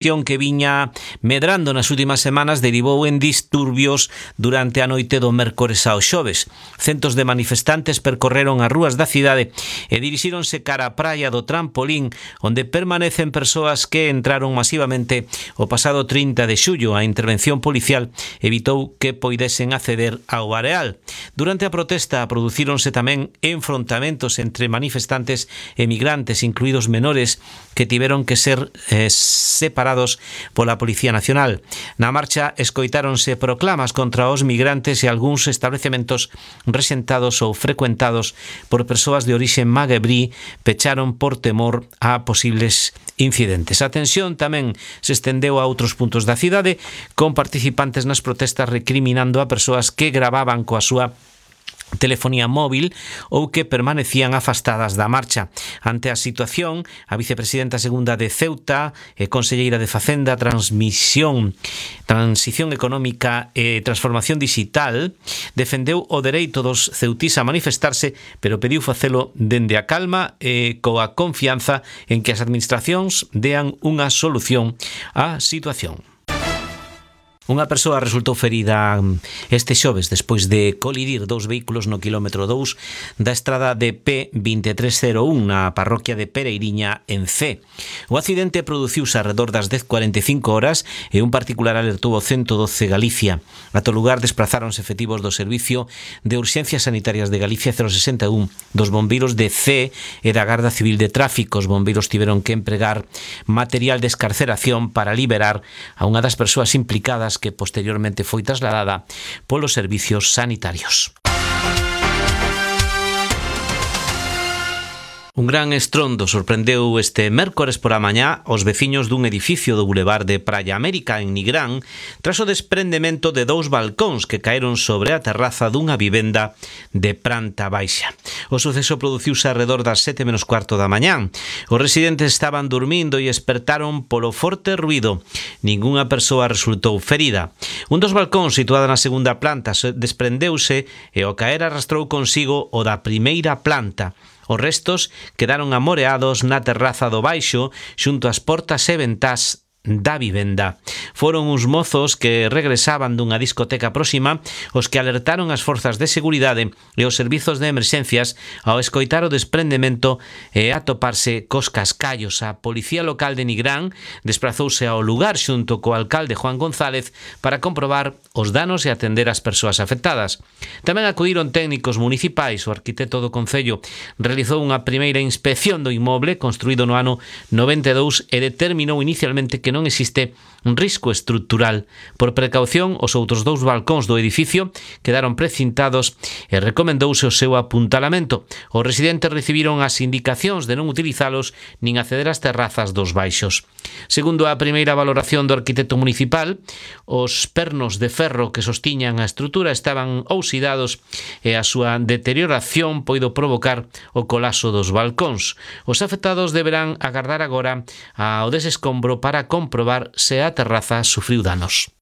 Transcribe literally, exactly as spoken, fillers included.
que viña medrando nas últimas semanas derivou en disturbios durante a noite do mércores ao xoves. Centos de manifestantes percorreron as rúas da cidade e dirixíronse cara á praia do Trampolín, onde permanecen persoas que entraron masivamente o pasado trinta de xullo. A intervención policial evitou que poidesen acceder ao areal. Durante a protesta producíronse tamén enfrontamentos entre manifestantes e migrantes, incluídos menores, que tiveron que ser eh, separados pola Policía Nacional. Na marcha escoitáronse proclamas contra os migrantes e algúns establecementos rexentados ou frecuentados por persoas de orixe magrebí pecharon por temor a posibles incidentes. A tensión tamén se estendeu a outros puntos da cidade, con participantes nas protestas recriminando a persoas que gravaban coa súa telefonía móvil ou que permanecían afastadas da marcha. Ante a situación, a vicepresidenta segunda de Ceuta e conselleira de Facenda, Transmisión, Transición Económica e Transformación Digital defendeu o dereito dos ceutís a manifestarse, pero pediu facelo dende a calma e coa confianza en que as administracións dean unha solución á situación. Unha persoa resultou ferida este xoves despois de colidir dous vehículos no quilómetro dous da estrada de P vinte e tres cero un na parroquia de Pereiriña, en Cee. O accidente produciuse arredor das dez cuarenta e cinco horas e un particular alertou o ciento doce Galicia. Ata o lugar desprazáronse efectivos do Servicio de Urxencias Sanitarias de Galicia cero sesenta e un, dos bombeiros de Cee e da Garda Civil de Tráfico. Os bombeiros tiveron que empregar material de escarceración para liberar a unha das persoas implicadas, que posteriormente foi trasladada polos servicios sanitarios. Un gran estrondo sorprendeu este mércores por a mañá os veciños dun edificio do bulevar de Praia América en Nigrán tras o desprendemento de dous balcóns que caeron sobre a terraza dunha vivenda de planta baixa. O suceso produciuse alrededor das sete menos cuarto da mañán. Os residentes estaban dormindo e espertaron polo forte ruído. Ningunha persoa resultou ferida. Un dos balcóns situado na segunda planta desprendeuse e ao caer arrastrou consigo o da primeira planta. Os restos quedaron amoreados na terraza do baixo xunto ás portas e ventás da vivenda. Foron uns mozos que regresaban dunha discoteca próxima os que alertaron as forzas de seguridade e os servizos de emerxencias ao escoitar o desprendemento e atoparse cos cascallos. A Policía Local de Nigrán desprazouse ao lugar xunto co alcalde Juan González para comprobar os danos e atender as persoas afectadas. Tamén acudiron técnicos municipais. O arquitecto do Concello realizou unha primeira inspección do inmoble construído no ano noventa e dous e determinou inicialmente que non existe un risco estrutural. Por precaución, os outros dous balcóns do edificio quedaron precintados e recomendouse o seu apuntalamento. Os residentes recibiron as indicacións de non utilizalos nin acceder ás terrazas dos baixos. Segundo a primeira valoración do arquitecto municipal, os pernos de ferro que sostiñan a estrutura estaban oxidados e a súa deterioración poido provocar o colapso dos balcóns. Os afectados deberán agardar agora ao desescombro para comprobar se a terraza sufriu danos.